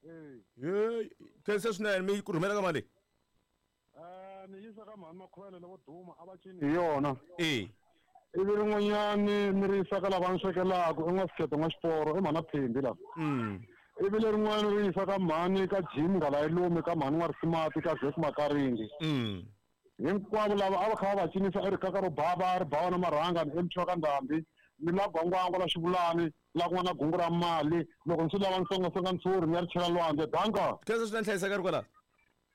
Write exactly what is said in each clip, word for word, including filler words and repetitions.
Eh. Ye, khensa swinene mi ku rhumela ka mali. Eh, ni yisa ka mhani Makhuvele lavo duma a va cini hi yona. Eh. Ivi rin'wanyani ni ri yisa ka lava ni swekelaka i n'wa n'wa xiporo i mhana Phembi la. Mm. Ivi lerin'wani ri yisa ka mhani ka Jim Ngalayilume ka mhani N'wa Risimati ka Zek Makaringi. Mm. Hinkwavo lava a va kha va va cinisa i rikaka ro bava ri bawa na marhanga ni emthiwa ka ndhambi ni la gwangwangwa la xivulani la ku nga na gungu ra mali loko ndzi lava nsongasonga ntshuri ni ya ri chela lwandle danka Khensa swinene hlayiseka ri kwala.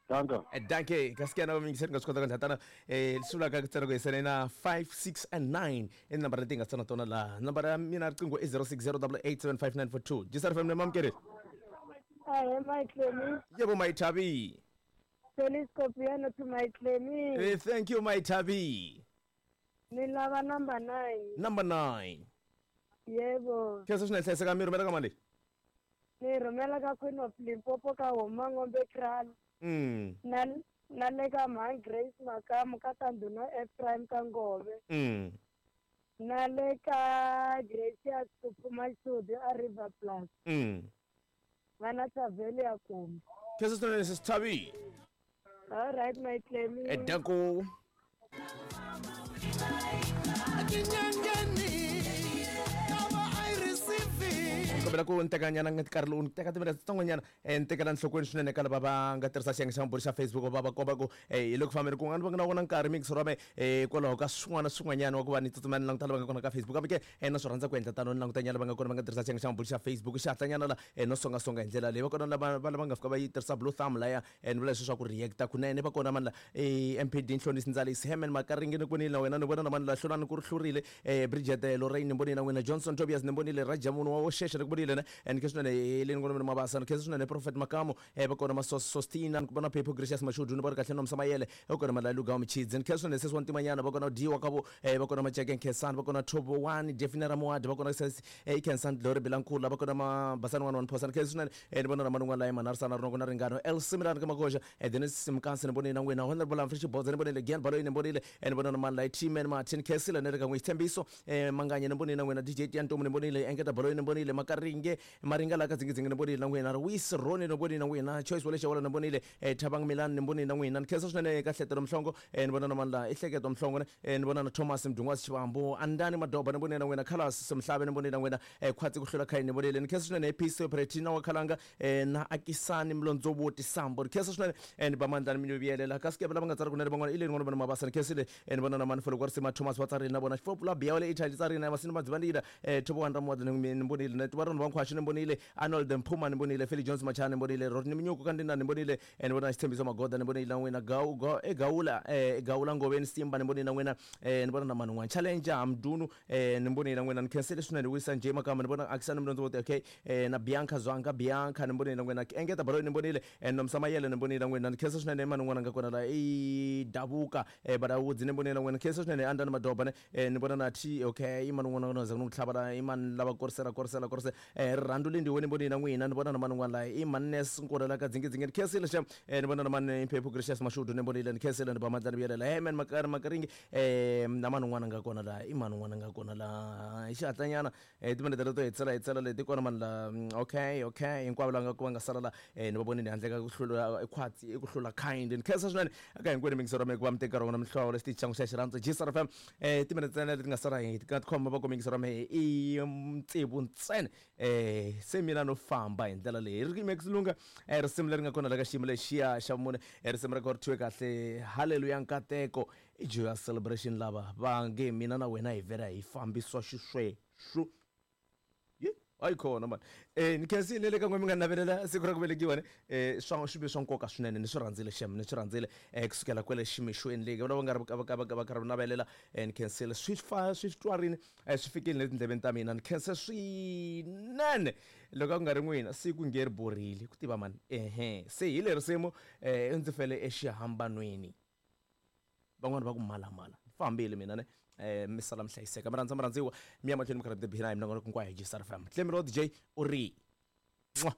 Danka. Eh, danke kasi ke na mingiseri nga swi kota ku ndla tana eh leswi vulaka ku tsena ku hisela na five six and nine i nambara leti hi nga tsana tona laha nambara ya mina riqingho i zero six zero double eight seven five nine four two G S R F M mamukeri. Ahe, Mayitlemi. Yebo, Mayithabi. Feliz Copiano to Mayitlemi. Eh, thank you, Mayithabi. Ni lava number nine. Number nine. Yebo. Khensa swinene hlayiseka mi rhumela ka mali. Ni rhumela ka Queen of Limpopo ka Homa Ngombe Kral. Mm. Na na le ka Mhan Grace Makamu ka Tanduna Ephraim ka Ngove. Mm. Na le ka Gracious Kuphuma Xisudi a River Plus. Mm. Va na Thaveli ya Kumbi. Khensa swinene sisi Thabi. All right, Mayitlemi. Eh, danko. Tinyangeni lava I receiving. Kombela ku ni tekanyana nkarhi lowu ni teka timinete titsongonyana um ni tekela nhlokweni swinene ka lava va nga tirhisa xiyenge xa mabulu xa Facebook va va komba ku um hi le ku fambeni kun'wana va nga na vona nkarhi mixo ra me um kwalaho ka swin'wana swin'wanyana wa ku va ni tsutsuma ni languta lava nga kona ka Facebook kambe ke um na swi rhandza ku endla tano ni langutanyana lava nga kona va nga tirhisa xiyenge xa mabulu xa Facebook xihatlanyana la um no songasonga hi ndlela leyi va kona lava va lava nga fika va yi tirhisa blue thumb laya um ni vula leswi swa ku reacta kunene va kona mani la um M P D Nhlonisi Ndzalisi Hemen Makaringi ni vonile na wena ni vona na mani la hlulani ku ri hlurile um Bridget Lorraine ni vonile na wena Johnson Tobias ni vonile Rajamunu wa Wosheshe ni ku vonile ne and khe swinene Heleni ngona mina Mabasa ni khensa swinene Prophet Makamo um va kona Masostina ni ku vona Phepho Gracious Mashudu ni vona kahle Nomsa Mayele va kona Malaluga Michidzi ni khensa swinene sesi wa ntimanyana va kona Diwa kavo um va kona Maceke Nkhensani va kona Thobo One Defina Ramuadi va kona sesi i Khensani Glory Bilankula va kona Mabasani one one Phosa ni khensa swinene um ni vona na man'wana laya Manarisana Rinoko na Ringano El Similani ka Makoxa um Dennis Mkansi ni vonile na n'wina Honorable Humphrey Xibodza ni vonile Gian Baloyi ni vonile um ni vona na mani laya T-Man Martin Khensile ni ri ka n'wi Xitshembiso um Manganye ni vonile na n'wina D J Tiantomu ni vonile Engeta Baloyi ni vonile Makaringe Maringa la ka Dzingidzingi ni vonile na n'wina Wis Roni ni vonile na n'wina Choice Wale Xawala ni vonile um Thabang Milan ni vonile na n'wina ni khensa swinene ka Hletelo Mhlongo um ni vona na mani la i Hleketo Mhlongo ne um ni vona na Thomas Mdungwazi Xivambu Andani Madoba ni vonile na n'wina Carlos Semhlabe ni vonile na n'wina um Khwatsi ku hlula khayini ni vonile ni khensa swinene Peace Operatina wa Khalanga um na Akisani Mlondzovoti Sambo ni khensa swinene um ni ba mandla ni mi vuyelela kasi ke lava nga tsari kunene van'wana i le ni vona Mabasa ni khensile um ni vona na mani Foloko wa Risima Thomas va tsarile na vona Xifopula Biya wa le Italy tsarile na Masini Madzivandila um Thobo wa Ramuwadi ni vonile na Tivaroni va Nkhwaxi ni vonile Arnold Mphuma ni vonile Feli Jones Machana ni vonile Rodney Minyuku Kandina ni vonile um ni vona Xitshembiso Magoda ni vonile na n'wina Gau Ga- eGawula um Gawula Ngoveni Simba ni vonile na n'wina um ni vona na mani n'wana Challenger Hamdunu um ni vonile na n'wina ni khensile swinene wisa nje makamba ni vona Akisani Mlondzovoti okay um na Bianca Zwanga Bianca ni vonile na n'wina Engeta Baloyi ni vonile um Nomsa Mayele ni vonile na n'wina ni khensa swinene mani n'wana nga kona la i Davuka um Badawudzi ni vonile na n'wina ni khensa swinene Andani Madoba ne um ni vona na T okay i mani n'wana na za ku tlhava la i mani lava korisela korisela korisela um rirhandzu lindiwe ni vonile na n'wina ni vona na mani n'wana la i Mannes Nkula la ka Dzingidzingi ni khensile xa um ni vona na mani Mphephu Gracious Mashudu ni vonile ni khensile ni ba mandla ni vuyelela hey man Makari Makaringi um na mani n'wana nga kona la i mani n'wana nga kona la hi xihatlanyana um timinete leto hetisela hetisela leti kona mani la mm, okay okay hinkwavo lava nga ku va nga sala la um ni va vonile handle ka ku hlula khwatsi i ku hlula kind ni khensa swinene eka hinkwenu mingisero mi ku va mi teka rona mihlovo lexi xangu xa xirhandzu G S R F M um timinete ntsena leti nga sala hi nga tikhoma va ku mingisero mi i tsevu ntsena um se mina no famba hi ndlela leyi ri Max Lunga um risimu leri nga kona la ka xiyimo lexiya xa vumune eh, risimu ra kona ri thyiwe kahle Halleluya Nkateko i Joyous Celebration lava va nge mina na wena hi vhela hi fambiswa xisweswo ye hayi khona mani eh ni khensile le ka n'we mi nga navelela siku ra ku velekiwa ne eh swa swi ve swa nkoka swinene ni swi rhandzile xem ni swi rhandzile eh kusukela kwele ximixweni leyi va nga ri va va va karhi navelela eh ni khensile swi fa swi twarini eh swi fikile le tindleveni ta mina ni khense swinene loko a ku nga ri n'wina siku nge ri borile ku tiva mani ehe se hi le risimu eh ndzi fele exihambanweni van'wani va ku malamala ni fambile mina ne eh mi sala mi hlayiseka mi rhandza mi rhandziwa mi ya mahlweni mi karhi mi tiphina hi minongonoko hinkwayo hi G S R F M Clemiro D J u ri. Mwah.